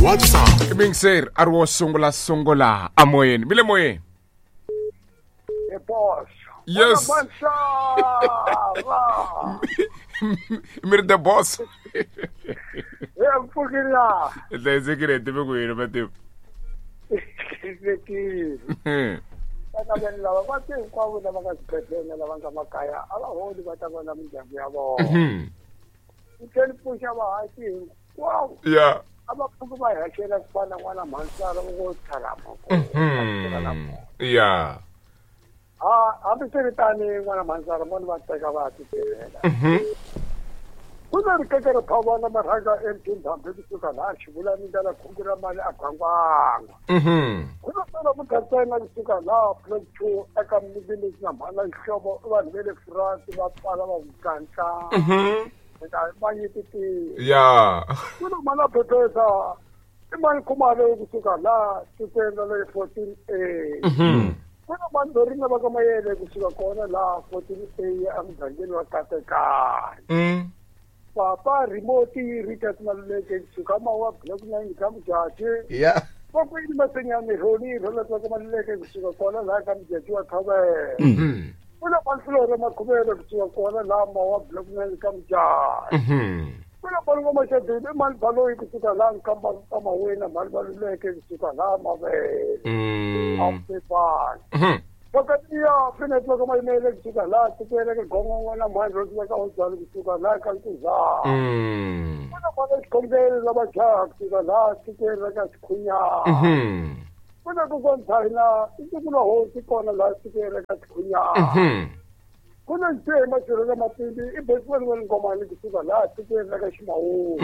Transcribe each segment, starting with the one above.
WhatsApp. I miyingiseri a ri wo sungula sungula amoyeni mi le moyeni. The boss. Yes. Mansava. Mi ri the boss. Ya mpfukela. Hi hlayisekile hi tive ku yini matimu. Hlayisekile. Vana vanhu lava va te hinkwavo lava nga swibedhlele na lava nga makaya a va holi va ta vona mindyangu ya vona. Ni tlhela ni pfuxa vahaxi hinkwavo. Ya. A va pfuki va hi haxela ku fana na n'wana mhansara va ngo tsharama ku Ya. Ha hambiswiritani n'wana mhansara moni va teka va ya titirhela. Ku na rikeke ro phavana marhanga MT Ndhambi kusuka laha Xivulani ndlela khungu ra mali a Gwangwangwa. Ku na sala muthatsena kusuka laha Block 2 eka Mninginisi na Mhana Nhloko i vanhu va le France va pfala va ku tlantla. Eka va nyiketile. Ya. Ku na Mhana Phephesa i mani Khumalo kusuka laha tikweni ra le 14A. Ku na mani Dorina va ka Mayele kusuka kona laha 14A emugangeni wa Katekani. Papa Remote Richard Maluleke kusuka Mawa Block 9 ka Mujaji. Ya. Vakwini Masenyane Roni Roland va ka Maluleke kusuka kona laha ka Mujaji wa Thovela. Ku na mani Flora Makhuvele kusuka kona laha Mawa Block 9 ka Mujaji. Ku na mani Ngoma i mani Baloyi kusuka laha Nkamba ka Mawena mani Maluleke kusuka laha Mavele. Afifani. Vakatiya Finnet va ka Mayimele kusuka laha tikweni ka Gongongo na mani Rose va ka Odzali kusuka laha ka Nkuzana. Ku na mani Xikhongelo lava jaha kusuka laha tikweni ra ka Xikhunyana. Ku na kokwana China i siku la hosi kona laha tikweni ra ka Xikhunyana. Ku na Ntshe Machirhela Matindi i Bosman wa le Ngomani kusuka laha tikweni ra ka Ximawuwa.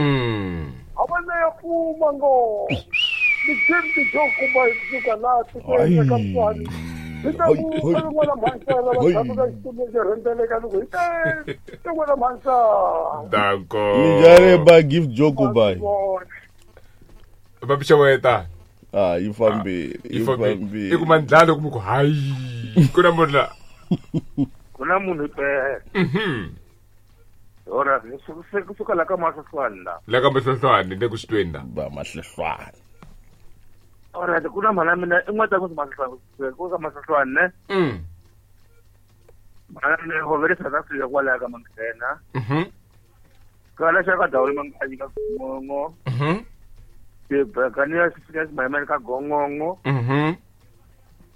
A va leya pfuma ngo. Ni James Joe Kumba kusuka laha tikweni ra ka Mtswani. Hi ta ku n'wana mhansana va tshama ka xitulu xo rhendzeleka loko hi te n'wana mhansana. Danko. Minjhani ba Gift Joe Kubai. Va pixeweta. Ah, yi fambile, Yi yi fambile. fambile. I kuma ndlala ku mi ku hayi. Ku na munhu la. Ku na munhu impela. Ora, kusuka la ka Mahlohlwane la. La ka Mahlohlwane le ku xi tweni la. Ba Mahlohlwane. Ora, ku na mhana mina i n'wana ta ku Mahlohlwane, ku ka Mahlohlwane ne? Mhana mina ho ve le South Africa kwalaya ka Manghena. Kala xa ka Dawuli Manganyi ka Gongongo. Tibekani ya xi Mayimani ka Gongongo.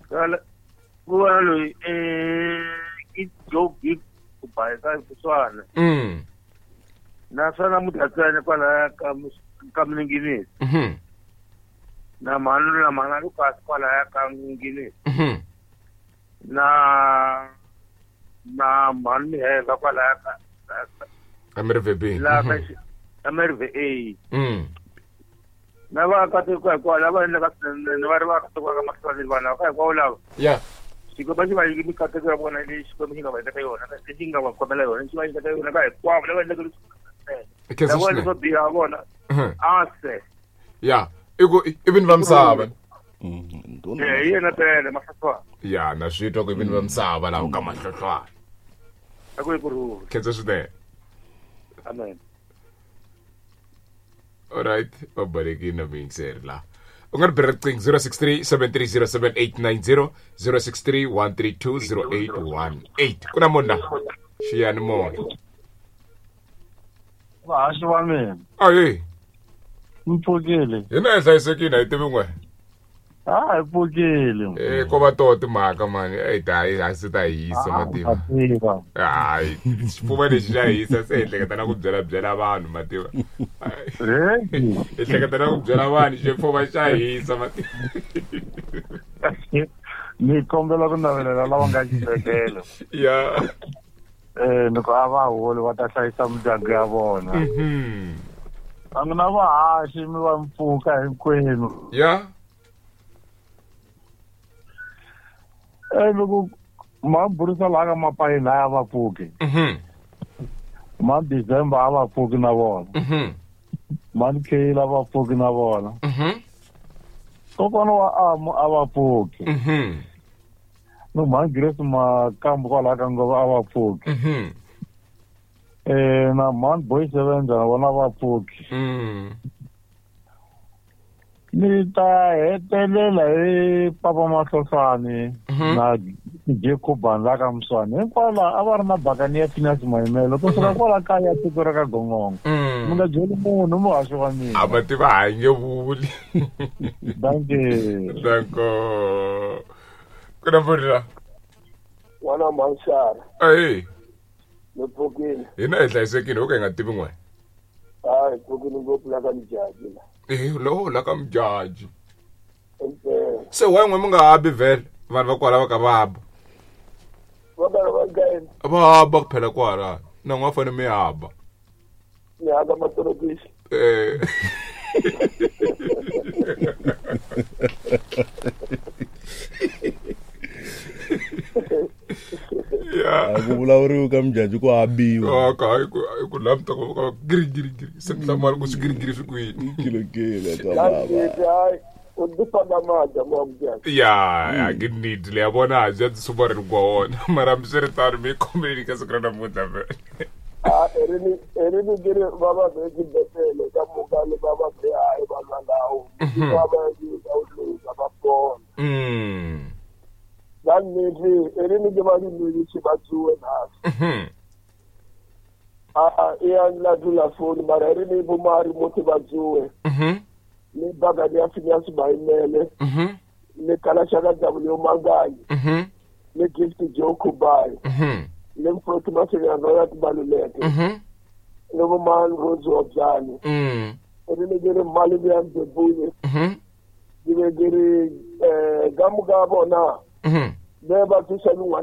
Kala ku va loyi i Joe Gibbs ku ba eka Botswana. Naswona Mudyatsane kwalaya ka Mninginisi. Na mhani na mhana Lucas kwalaya ka Mninginisi. Na mhani Miheva kwalaya ka Amerive B. La ka Amerive A. Na va ka tiko hinkwawo lava endlaka swinene va ri va ka tiko ka mahlweni vanhu va hinkwavo lava. Ya. Xikwembu xi va nyike mikateko ya vona leyi Xikwembu xi nga va nyiketa yona, lexi nga va khomela yona, xi va nyiketa yona ka hinkwavo lava endlaka leswi. Khensa Lava swinene. leswo biha vona. Ase. Ya, i ku i vini va misava. Eh, hi yena pele Mahlohlwane. Ya, na swi twa ku i vini va misava laha ka Mahlohlwane. A ku yi ku rhula. Khensa swinene. Amen. Alright, va balekile na muyingiseri laha. U nga ri bela riqingho 063 730 7890 063 132 0818. Ku na munhu la? Xiyanimoya. Vahaxi va mina. Ahe. Mi pfukile. Hina hi hlayisekile, a hi tivi n'we. Ah, hi pfukile. Eh, ko va toho timhaka mani. Eh, ta hi se ta hisa mativa. Mativa. Hayi, xifuva lexi xa hisa se hi hleketa na ku byela byela vanhu mativa. Hi hleketa na ku byela vanhu xifuva xa hisa mativa. Ni kombela ku navelela lava nga xibedhlele. Ya. Eh, ni ku a va holi va ta hlayisa mindyangu ya vona. A n'wina vahaxi mi va mpfuka hinkwenu. Ya. Eh, mi ku ma burisa laha ka mapayeni laya va pfuki. Ma December a va pfuki na vona. Ma Mkhela a va pfuki na vona. Kokwana wa Amu a va pfuki. No ma Grace Makambu kwalaha ka Ngova a va pfuki. Eh, na Man Boy Sevenza na vona va pfuki. Ni ta hetelela hi Papa Mahlosani na Jacob la ka Muswana. Hinkwavo a va ri na bakani ya Phineas Mayimele kusuka kwala kaya tiko ra ka Gongongo. Mi nga byeli munhu muhaxi wa mina. A va tiva ha nge vuli. Dankie. Danko. Ku na mfoni la. N'wana Manxara. Ayi. Ni pfukile. Hina hi hlayisekile ho ka hi nga tivi n'we. Hayi pfukile ngopfu la ka Mjaji la. Eh, lowo la ka Mjaji. Se wa n'we mi nga habi vhele vanhu va kwala va ka va ba. Va karhi va gaini. Va ba kuphela kwala. Na n'we fanele mi haba. Ni haka matorokisi. Eh. A ku vulavuriwi ka Mjaji ku habiwa. Ka hi ku lamta ku ka giri giri giri. Se hlamala ku swi giri giri swi kwini. Kilokile ka baba. U tifaka madya mo Mjaji. Ya, ke nnete le ya bona ja tsuba re kwa wona. Mara hambiswiritano mi khomeleni ka siku ra namuntlha vhele. A rini rini ke ri va va be xibedhlele ka muka le va va be hayi va lwa lawo. Va va yi ka u va pona. Va nnete rini ke va di ba tsuwe na. A e a la dula phone mara rini bo mari motho ba tsuwe. Le baga ya Phineas Mayimele. Le kala shaka W Manganyi. Le Gift Joe Kubai. Le Mfroti Masenya Royal Baluleke. Le Boman Rose Objani. Rini ke re Mali ya Mbebule. Ke re gamuga bona. Be ba thusa